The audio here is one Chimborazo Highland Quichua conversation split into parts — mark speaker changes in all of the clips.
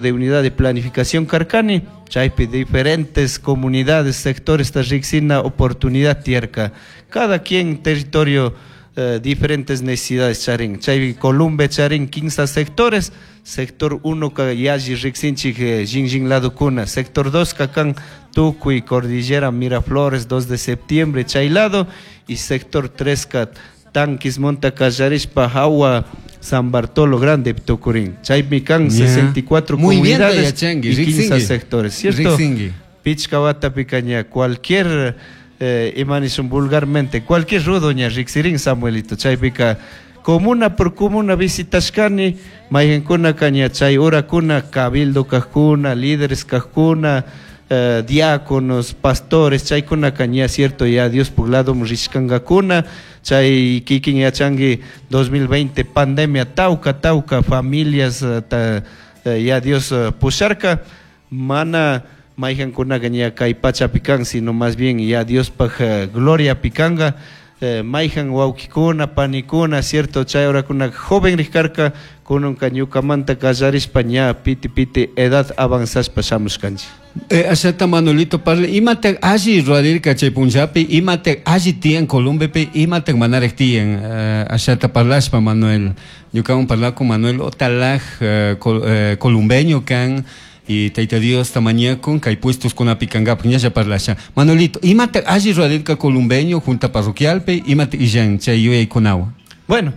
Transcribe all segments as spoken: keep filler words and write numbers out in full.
Speaker 1: De unidad de planificación karkani, chaypi diferentes comunidades, sectores ta riksina oportunidad tiyarka. Cada quien territorio eh, diferentes necesidades charin. Chaypi Columbe charin quince sectores, sector uno ka yalli riksinchik eh, shinlli ladokuna, sector dos ka kan tukuy Cordillera, Miraflores, dos de septiembre, chay lado, y sector tres ka Tanquismonta kallarishpa hawa San Bartolo Grande tukurin. Chaypi kan
Speaker 2: Ya.
Speaker 1: sesenta y cuatro
Speaker 2: Muy bien
Speaker 1: comunidades
Speaker 2: yachanki,
Speaker 1: y quince
Speaker 2: riksinki.
Speaker 1: sectores, ¿cierto?
Speaker 2: Riksinki.
Speaker 1: Pichka watapi ña cualquier eh, imanishun vulgarmente, cualquier rudo ña riksirin, Samuelito. Chaypika comuna por comuna visitashkani, mayqinkunaka ña chay horakuna cabildo kajkuna, líderes kajkuna, eh, diáconos, pastores, chaykunaka ña cierto ya Diospuk lado rishkankakuna. Chay kikin yachanki dos mil veinte pandemia tauka tauka familias eh, ta, eh, ya Dios eh, pusharka, mana mayqankunaka ña kay pachapi kan, sino más bien ya Diospaj eh, gloria pikanka. eh, mayqan wawkikuna, panikuna, cierto, chay horakuna joven rikarka, kunanka ñukamanta kallarishpa ña piti piti edad avanzashpa shamushkanchik.
Speaker 2: Eh, ashata Manuelito parla, imata alli rurarirka chay punllapi, imata alli tiyan Columbepi, imata manaraj tiyan, eh, ashata parlashpa Manuel, ñukawan parlakun Manuel Otalaj, eh, col, eh, columbeño kan, y Tayta Diosta mañakun, kay puestos kunapi kankapaq ñalla parlasha. Manuelito, imata alli rurarirka columbeño junta parroquialpi, imata illan chay yuyaykunawan?
Speaker 1: Bueno,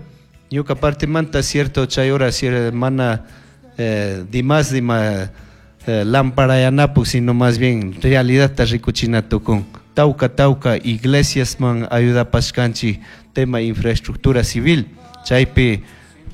Speaker 1: ñuka partimanta, cierto, chay hora mana eh, dimas dima eh, lamparayanapuk, sino más bien realidad ta rikuchina tukun. Tauka tauka iglesias man ayudapashkanchik tema infraestructura civil. Chaypi,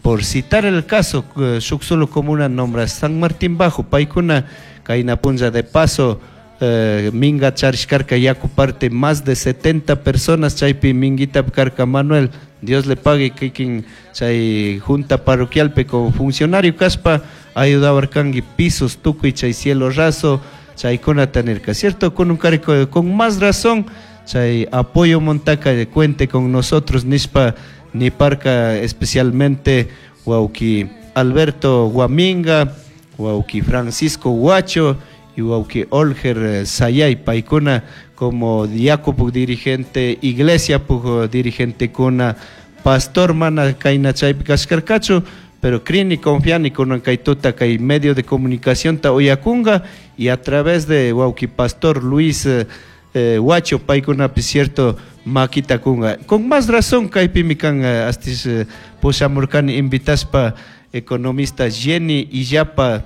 Speaker 1: por citar el caso, eh, shuk solo comuna nombra San Martín Bajo, paykuna kayna punlla de paso eh, minga charishkarka yaku parte más de setenta personas, chaypi minguita karka Manuel, Dios le pague, kikin chay junta parroquialpi como funcionario kashpa ayudawarkanki pisos tukuy chay cielo raso chaykunata nirka, cierto, con un carico, con más razón chay apoyo montaka cuente con nosotros nishpa niparka, especialmente wawki Alberto Guaminga, wawki Francisco Huacho y wawki Olger eh, Sayay, paykuna como diácono dirigente, iglesia puk dirigente kuna, pastor mana kayna chaypi kashkarkachu, pero crini confiani kunan kay tuta kay medio de comunicación ta uyakunga y a través de wawki pastor Luis eh, eh, Huacho paykunapi cierto makita kunga. Con más razón kaypimi kan eh, astis eh, pushamurkani invitashpa economista Jenny Illapa,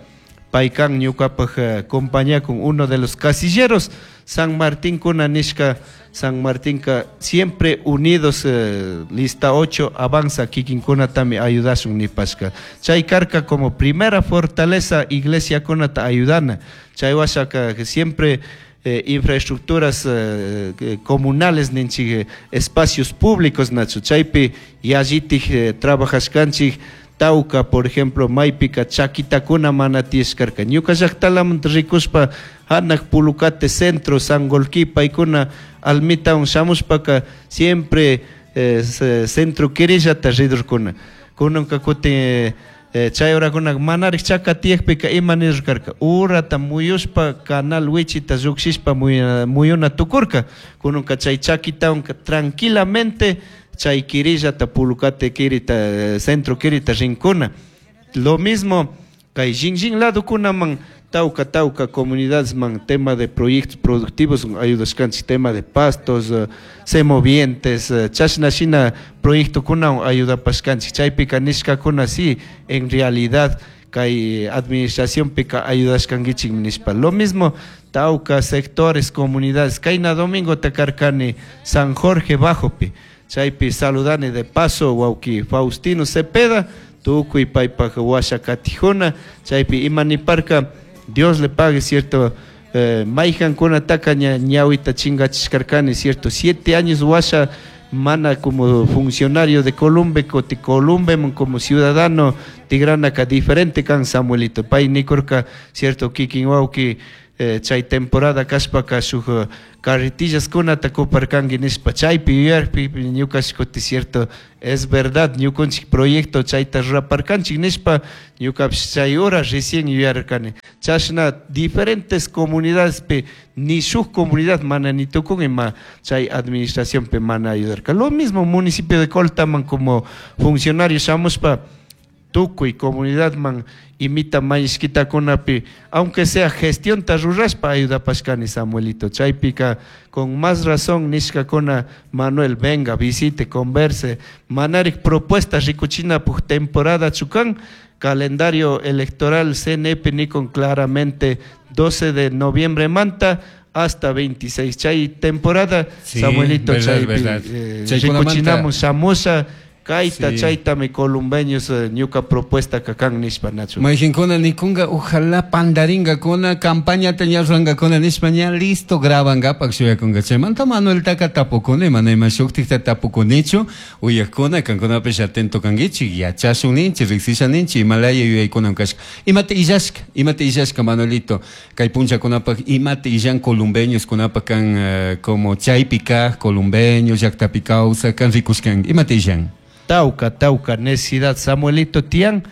Speaker 1: paykan ñukapaj eh, compañía con uno de los casilleros San Martín kuna nishka San Martín ka siempre unidos, eh, lista ocho avanza, kikinkunatami ayudashun nipashka. Chay karka como primera fortaleza iglesia kunata ayudana. Chay washaka que siempre eh, infraestructuras eh, eh, comunales ninchik, eh, espacios públicos nachu, chaypi yallitik eh, trabajashkanchik. Tauca, por ejemplo, maypika chaquitakuna mana tiyashkarka. Ñuka llaktalamanta rikushpa hanak Pulucate centro, Sangolquí, paykuna almitawan shamushpaka siempre eh, centro kirillata ridurkuna. Kunanka kutin eh, chay horakuna manarik chaka tiyakpika ima nirkarka, urata muyushpa canal wichita llukshishpa muyuna tukurka. Kunanka chay chaquitawan tranquilamente chay kirillata Pulucate kirita, centro kirita rinkuna. Lo mismo kay shinlli ladokunaman tauka tauka comunidades man tema de proyectos productivos ayudashkanchik, tema de pastos, uh, semovientes, uh, chashna shina proyectokunawan ayudapashkanchik. Chaypika nishkakuna sí, en realidad kay administración pika ayudashkankichik nishpa. Lo mismo tauka sectores, comunidades. Kayna domingo takarkani San Jorge Bajopi, chaypi saludani de paso wawki Faustino Cepeda tukuy paypaj washa katijuna. Chaypi imaniparka, Dios le pague, cierto, eh, mayqankunataka ña ñawita chingachishkarkani, cierto, siete años washa mana como funcionario de Columbe, kuti Columbe como ciudadano tigranaka diferente kan, Samuelito. Pay nikurka, cierto, kikin wawki eh, chay temporada kashpaka shuk carretillaskunata kuparkanki nishpa chaypi yuyarpi ñukash kuti cierto es verdad ñukunchik proyecto chayta ruraparkanchik nishpa ñukapish chay hora recién yuyarkani. Chashna diferentes comunidadespi ni shuk comunidad mana ni tukun ima chay administracionpi mana ayudarka. Lo mismo municipio de Coltaman como funcionario shamushpa tukuy comunidadman imita mañishkitakunapi aunque sea gestionta rurashpa ayudapashkani, Samuelito. Chaypika con más razón nishkakuna Manuel venga, visite, converse, manarik propuestas rikuchinapuk temporada chukan calendario electoral C N P nikon claramente doce de noviembre manta hasta veintiséis. Chay temporada,
Speaker 2: sí,
Speaker 1: Samuelito,
Speaker 2: verdad,
Speaker 1: chaypi,
Speaker 2: verdad.
Speaker 1: eh,
Speaker 2: Chaykunamanta
Speaker 1: rikuchinamun shamusha kayta
Speaker 2: Sí.
Speaker 1: chaytami columbeños eh, ñuka propuesta kakan nishpa nachu.
Speaker 2: Mayjinkuna nikunga ojalá pandaringakuna campañata ña ruranngakuna nishpa ña listo grabangapak shuyakunga. Chaymanta Manueltaka tapukuni, mana ima shuktikta tapukunichu, uyakuna kankunapish atento kankichik, yachashun ninchik, riksisha ninchik, imalaya yuyaykunan kashka. Imata illashka, imata illashka Manuelito, kay punchakunapak imata illan columbeños kunapak kan, eh, como chaypi kaj, columbeños, llaktapi kawsak, kan rikushkan, imata illan.
Speaker 1: Tauca, tauca, necesidad, Samuelito tian,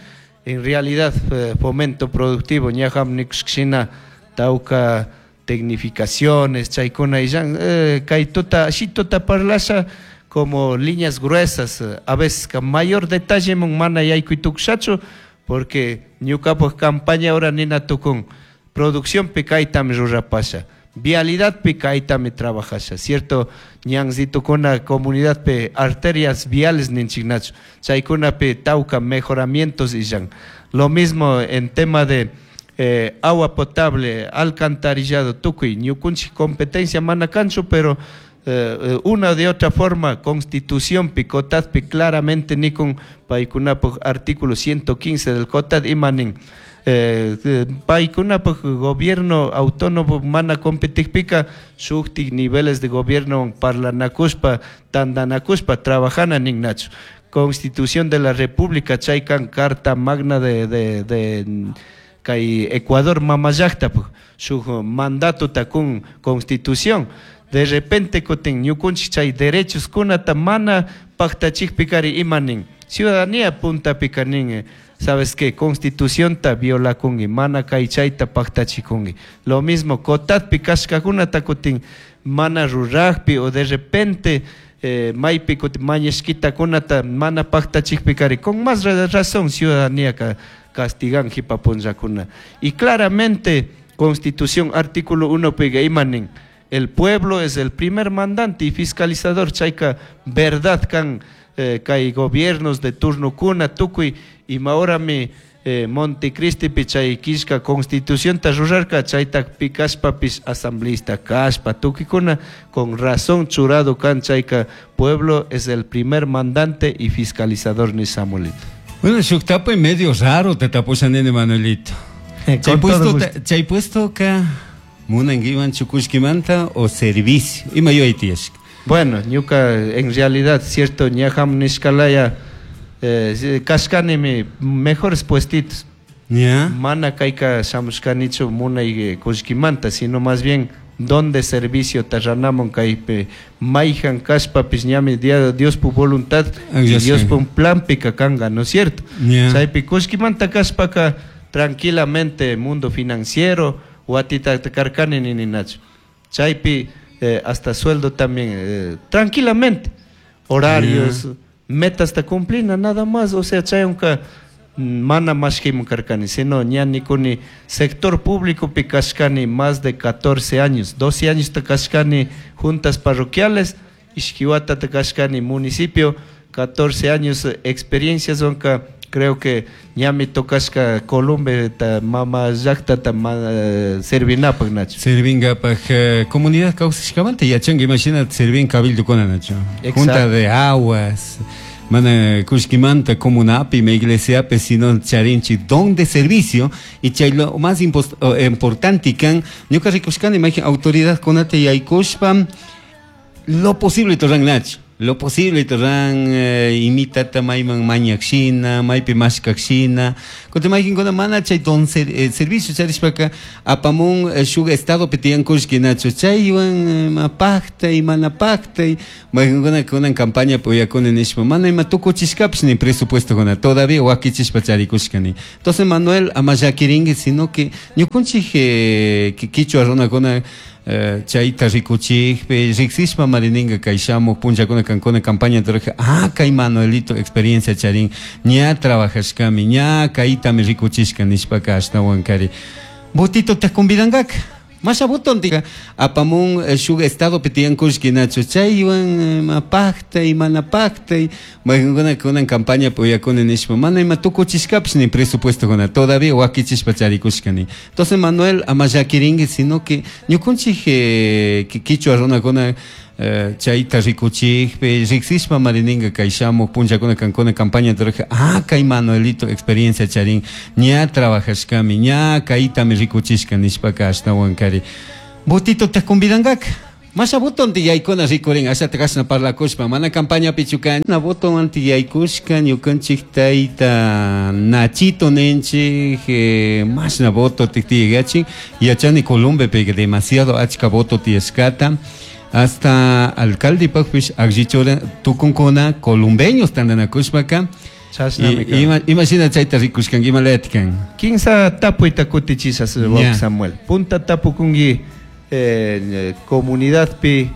Speaker 1: en realidad, eh, fomento productivo, ñajam nikushkshina, tauca tecnificaciones, chaykuna illan, eh, kay tuta, shituta parlasha como líneas gruesas, eh, a veces ka mayor detalle mon mana yaykuy tukushachu, porque ñukapak campaña ahora nina tukun, producción pi kaytami rurapasha, vialidad pi kaytami trabajasha, cierto, ñanzitukuna comunidad pe arterias viales ninchiknachu, chaykuna pe tauca mejoramientos illan. Lo mismo en tema de, eh, agua potable, alcantarillado, tukuy, ñukunchik competencia mana kanchu, pero, eh, eh, una de otra forma, constitución pi, COTAD pi, claramente nikun paykunapuk artículo ciento quince del COTAD imanin. Eh, eh, paykunapuk gobierno autónomo mana competikpika shuktik niveles de gobierno parlanakuspa, tandanakuspa, trabajana ninnachu. Constitución de la República chaykan Carta Magna de, de, de kay Ecuador mamallaktapu shuk mandato takun constitución. De repente kutin ñukunchik chay derechos kunata mana paktachikpikari imanin. Ciudadanía puntapika nin, eh, ¿sabes qué? Constitución ta violakungi, mana kay chayta paktachikungi. Lo mismo, COTADpi kashkakunata kutin mana rurajpi o de repente, eh, maypi kutin mañashkitakunata mana paktachikpikari, con más ra-, razón ciudadanía ka castigan jipapunllakuna. Y claramente, Constitución artículo uno piga imanin, el pueblo es el primer mandante y fiscalizador, chayka verdad kan, eh, kay gobiernos de turno kuna tukuy ima horami, eh, Montecristi pi chay kishka constitución ta rurarka chayta pikashpapis asambleísta kashpa tukikuna con razón churado kan chayka pueblo es el primer mandante y fiscalizador ni Samuelito.
Speaker 2: Bueno, shuk tapuy medio raro te tapushan nene Manuelito.
Speaker 1: Con
Speaker 2: Chay
Speaker 1: todo
Speaker 2: puesto
Speaker 1: gusto.
Speaker 2: ta, chay puesto ka munankiwan chukushkimanta o servicio. Ima yuyay tiyashka.
Speaker 1: Bueno, ñuka en realidad, cierto, ñajam nishkalaya, eh, kashkanimi mejores puestitos.
Speaker 2: Ya.
Speaker 1: Mana kayka shamushkanichu munay, eh, kullkimanta, sino más bien donde servicio tarranamon kaype mayjan kashpapis ñami dia, Dios pu voluntad
Speaker 2: Ah,
Speaker 1: y
Speaker 2: ya
Speaker 1: Dios
Speaker 2: sé.
Speaker 1: pu plan pika kanga, ¿no es cierto?
Speaker 2: Ya.
Speaker 1: Chaypi kullkimanta kashpaka tranquilamente mundo financiero watita karkani nininachu. Chaypi, eh, hasta sueldo también, eh, tranquilamente, horarios,
Speaker 2: Ya.
Speaker 1: metas ta cumplina, nada más, o sea, chayunka mana mashkimun karkani, sino ñani kuni sector público pi kashkani más de catorce años, doce años ta kashkani juntas parroquiales, ishkiwata ta kashkani municipio, catorce años, eh, experiencias onka, creo que ñami tocashka Columbe ta mama llakta ta ma, eh, servinapaj, Nacho.
Speaker 2: Servingapak, eh, comunidad kawsashkamanta yachanka, imagínate, servin cabildo kuna, Nacho.
Speaker 1: Exacto.
Speaker 2: Junta de aguas, mana kushkimanta comunapi, me iglesiapi, sino charinchi, don de servicio, y chay lo más impost-, oh, importante kan, ñuka rikushkani, imagina, autoridad kunata yaykushpa, lo posible torran, Nacho. Lo posible ruran eh, imitata mayman mañakshina, maypi mashkakshina. Kutin maykinkuna mana chay don ser, eh, servicio charishpaka apamun eh, shuk estadopi tiyan kullkinachu chaywan ima paktay mana paktay maykinkuna kunan campaña uyakuni nishpa mana ima tukuchishkapish ni presupuestokuna todavía wakichishpa charikushkani. Entonces Manuel ama llakirinki sino que ñukunchik eh, kichwa runakuna eh, chayta rikuchikpi riksishpa marininka kay shamuk punllakuna kankuna campaña rurajka ah kay Manuelito experiencia charin ña trabajashkami ña kaytami rikuchishka nishpaka ashtawan kari votito te convidankaka masha votontika apamun eh, shuk estadopi tiyan kullkinachu chaywan ima paktay mana paktay maykinkuna kunan campaña uyakuni nishpa mana ima tukuchishkapish ni presupuestokuna todavía wakichishpa charikushkani. Entonces Manuel ama llakirinki sino que ñukunchik eh, kichwa runakuna eh, chayta rikuchikpi riksishpa marininka kay shamuk punllakuna kankuna campaña rurajka ah kay Manuelito experiencia charin ña trabajashkami ña kaytami rikuchishka nishpaka ashtawan kari votito te convidankaka masha votonti yaykuna rikurin ashata kashna parlakushpa mana campañapichu kan na voto anti yaykushka ñukanchik tayta Nachito ninchik eh, mashna voto tiktiyachin yachani Columbepi demasiado achka voto tiyashkata hasta alcaldepakpish akllichura tukunkuna columbeños tantanakushpaka. Ima imashina chayta rikushkanki ima layatikan.
Speaker 1: Kinsa tapuyta kutichishas wawqi Samuel. Punta tapukunki eh, comunidadpi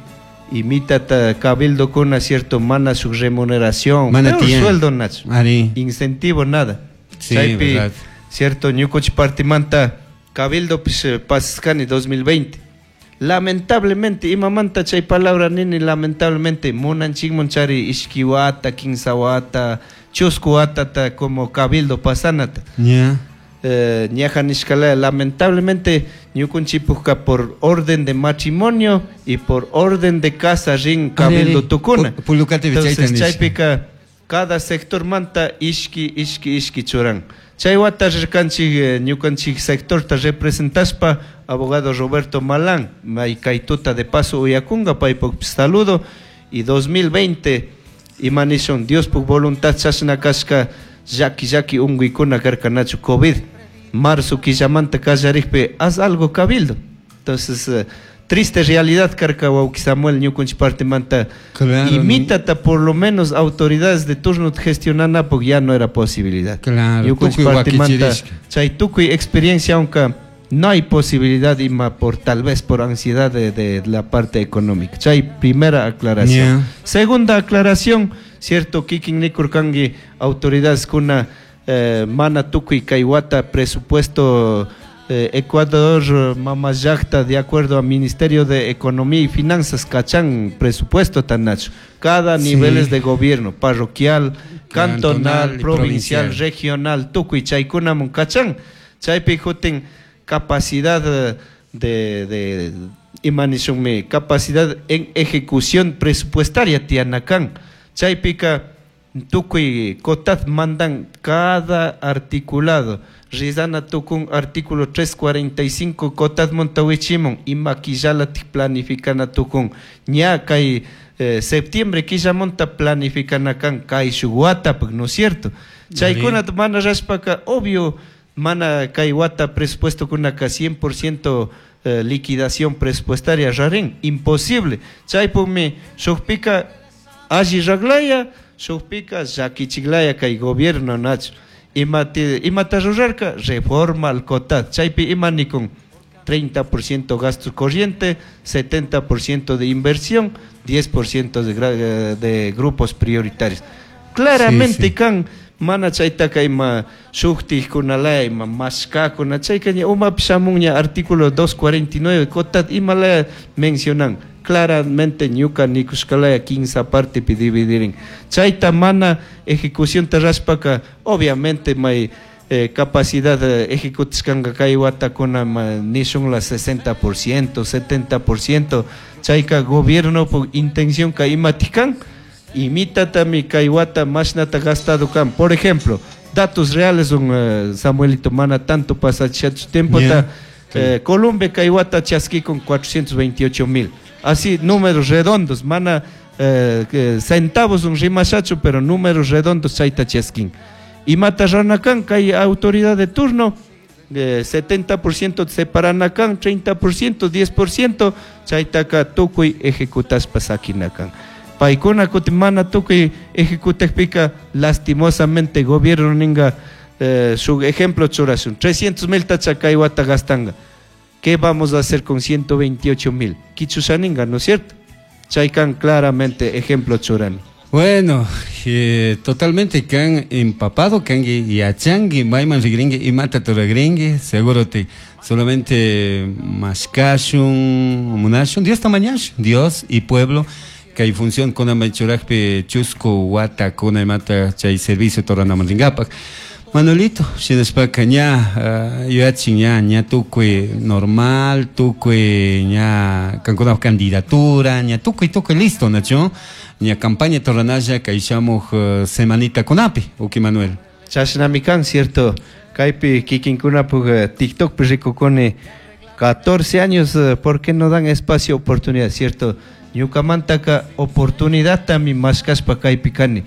Speaker 1: imitata cabildo kuna cierto mana su remuneración
Speaker 2: mana
Speaker 1: peor sueldo nacho.
Speaker 2: Ari.
Speaker 1: Incentivo nada.
Speaker 2: Sí,
Speaker 1: chaypi
Speaker 2: verdad.
Speaker 1: Cierto ñukuchik partimanta cabildo pis pasashkani dos mil veinte. Lamentablemente imamanta chay palabra nini lamentablemente munanchikman chari ishki wata kinsa wata chusku watata como cabildo pasanata.
Speaker 2: Yeah.
Speaker 1: Eh, ñaja nishkalaya lamentablemente ñukunchipukka por orden de matrimonio y por orden de casa rin cabildo tukuna.
Speaker 2: Pulukati
Speaker 1: Entonces chaypika cada sector manta ishki ishki ishki churan. Chay wata rirkanchik ñukanchik sectorta representaspa abogado Roberto Malán may kaytuta de paso uyakunga paypuk saludo y dos mil veinte imanishun Diospuk voluntad chashna kashka llaki llaki unguykuna karkanachu COVID marzo quillamanta kallarikpi haz algo cabildo. Entonces eh, triste realidad karka wawqi Samuel ñukunchik partimanta.
Speaker 2: Claro,
Speaker 1: imitata por lo menos autoridades de turno gestionanapuk ya no era posibilidad.
Speaker 2: Claro,
Speaker 1: ñukunchik
Speaker 2: tukuy
Speaker 1: partimanta
Speaker 2: wakichirishka.
Speaker 1: chay tukuy experiencia aunque no hay posibilidad ima por tal vez por ansiedad de, de la parte económica. Chay primera aclaración.
Speaker 2: Yeah.
Speaker 1: Segunda aclaración, cierto kikin nikurkanki autoridades kuna eh, mana tukuy kay wata presupuesto eh, Ecuador mama llaqta de acuerdo al Ministerio de Economía y Finanzas cachan presupuesto tanacho cada
Speaker 2: Sí.
Speaker 1: niveles de gobierno parroquial, cantonal,
Speaker 2: Cantonal y
Speaker 1: provincial,
Speaker 2: provincial.
Speaker 1: regional tukuy chaykunamun cachan chaypi jutin capacidad de, de imanishunmi capacidad en ejecución presupuestaria tianakan chaypika tukuy cotat mandan cada articulado rizana tukun artículo trescientos cuarenta y cinco cotat montawichimun ima quillala planificana tukun ña kay eh, septiembre quilla monta planificana kan kay shuk watapuk, ¿no es cierto? Chaykuna mana rashpaka obvio mana kay wata presupuesto kunaka cien por ciento eh, liquidación presupuestaria rarin imposible chaypukmi shukpika alli raglaya shukpika llakichiklaya kay gobierno nacho imati imata rurarka reforma al cotat chaypi ima nikun treinta por ciento gasto corriente, setenta por ciento de inversión, diez por ciento de gra-, de grupos prioritarios. Claramente
Speaker 2: Sí, sí.
Speaker 1: kan mana chaytaka ima shuktikunalaya ima mashkakuna chayka ña umapi shamunña artículo doscientos cuarenta y nueve cotat imalaya mencionan claramente ñuka nikushkalaya quince partepi dividirin chayta mana ejecución rashpaka obviamente may, eh, capacidad, eh, ejecutishkanka kay watakuna ma nishun la sesenta por ciento, setenta por ciento chayka gobierno por intención ka imatikan imitatami kay wata mashnata gastado kan. Por ejemplo, datos reales un, eh, Samuelito mana tanto pasachach tiempo
Speaker 2: Yeah.
Speaker 1: ta, eh, Colombia kay wata chaski con cuatrocientos veintiocho mil. Así números redondos, mana eh, centavos un rimashachu pero números redondos chayta chaskin imata rurana kan kay autoridad de turno eh, setenta por ciento separana kan, treinta por ciento, diez por ciento, chaytaka tukuy ejecutashpa sakina kan. Paykuna kutin mana tukuy ejecutakpika, lastimosamente gobierno ninga, eh, su ejemplo churashun, trescientos mil tacha kay wata gastanga. ¿Qué vamos a hacer con ciento veintiocho mil? Kichushaninga, ¿no es cierto? Chaykan claramente ejemplo churani.
Speaker 2: Bueno, eh, totalmente kan empapado kanki yachanki mayman rigrinki imata ruragrinki seguro te solamente mashkashun munashun Dios mañashun Dios y pueblo kay función kuna churajpi chusku wata kuna imata chay servicio toranaman rinkapak. Manuelito, shinashpaka ña uh, yuyachin ña ña tukuy normal, tukuy ña kankunapaj candidatura, ña tukuy tukuy listo, nachu? Ña campaña torranalla kay shamuj uh, semanita kunapi, uki Manuel.
Speaker 1: Chashnami kan, cierto. Kaypi kikinkunapuk uh, TikTokpi rikukuni catorce años, uh, ¿por qué no dan espacio, oportunidad? Cierto. Ñukamantaka oportunidad tami mashkashpa kaypi kani.